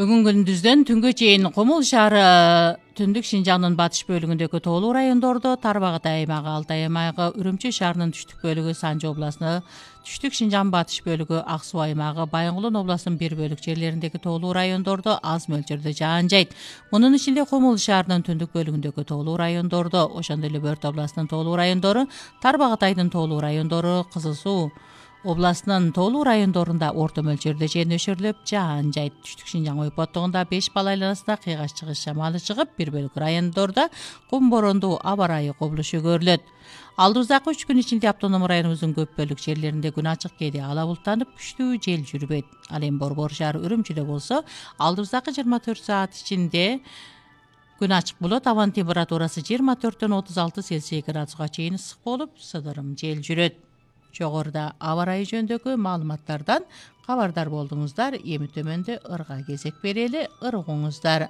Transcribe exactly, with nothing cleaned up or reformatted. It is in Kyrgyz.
Бүгүн күндүздөн түнгө чейин Кумул шаары, Түндүк Шинжаңдын батыш бөлүгүндөгү тоолуу райондордо, Тарбагатай аймагы, Алтай аймагы, Үрүмчү шаарынын түштүк бөлүгү, Санжы областыны, Түштүк Шинжаң батыш бөлүгү, Ак Суу аймагы, Байынгулун областынын бир бөлүк жерлериндеги тоолуу райондордо аз мөлчөрдө жаан жайт. Мунун ичинде Кумул шаарынын түндүк бөлүгүндөгү тоолуу райондордо, ошондой эле Бөрт областынын тоолуу райондору, Тарбагатайдын тоолуу райондору, Кызыл Суу областынын тоолуу райондорунда орто мөлчөрдө жер нөшөрлөп жаан жайт. Түштүк Шинжаң ойпоттугунда беш бал айланасында кыйгаш чыгыш шамалы чыгып, бир бөлүк райондордо кум бороондуу аба ырайы кобулушу көрүлөт. Алдыбыздагы үч күн ичинде автоном районубуздун көп бөлүк жерлеринде күн ачык, кээде ала булттанып, күчтүү жел жүрбөйт. Ал эми Борбор шаары, Үрүмчүдө болсо, алдыбыздагы жыйырма төрт саат ичинде күн ачык болот. Абанын температурасы жыйырма төрттөн отуз алты Цельсий градуска чейин ысык болуп, сыдырым жел жүрөт. Жогоруда аба ырайы жөнүндөгү маалыматтардан кабардар болдуңуздар. Эми төмөндө ырга кезек берели, ыр угуңуздар.